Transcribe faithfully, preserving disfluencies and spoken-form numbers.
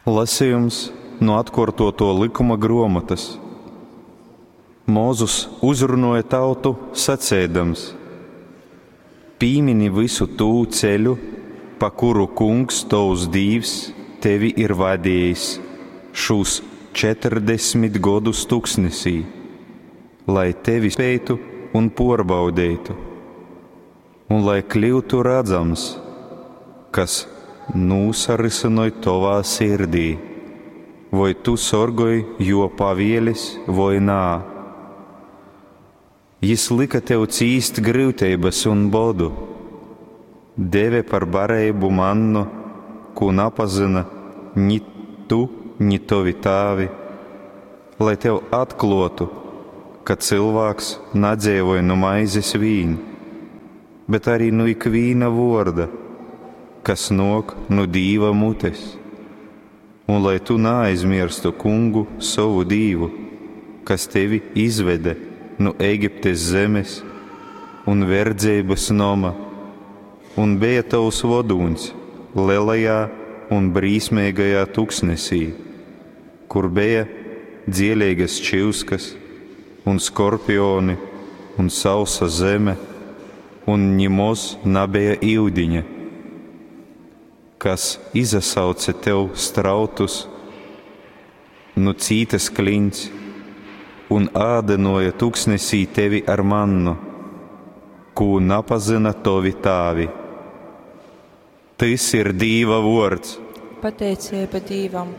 Lasejums nu Atkuortuotuo Lykuma gruomotys. Mozus uzrunuoja tautu, saceidams, Pīmini vysu tū ceļu, pa kuru Kungs, tovs Dīvs, tevi ir vadejis šūs četrdesmit godus tuksnesī, lai tevi speitu un puorbaudeitu, un lai kļyutu radzams, kas nūsarysynoj tovā sirdī, voi tu sorgoj juo pavielis voi nā. Jis lyka tev cīst gryuteibys un bodu, deve par bareibu mannu, kū napazyna ni tu, ni tovi tāvi, lai tev atkluotu, ka cylvāks nadzeivoj nu maizes vīn, bet arī nu ikvīna vuorda, kas nuok nu Dīva mutes, un lai tu naaizmierstu Kungu sovu Dīvu, kas tevi izvede nu Egiptes zemes un verdzeibys noma, un beja tovs vodūņs lelajā un brīsmeigajā tuksnesī, kur beja dzieleigas čyuskas un skorpioni un sausa zeme, un nimoz nabeja iudiņa, kas izasauce tev strautus nu cītas kliņts un ādynuoja tuksnesī tevi ar mannu, kū napazyna tovi tāvi. Tys ir Dīva vuords. Pateiceiba Dīvam.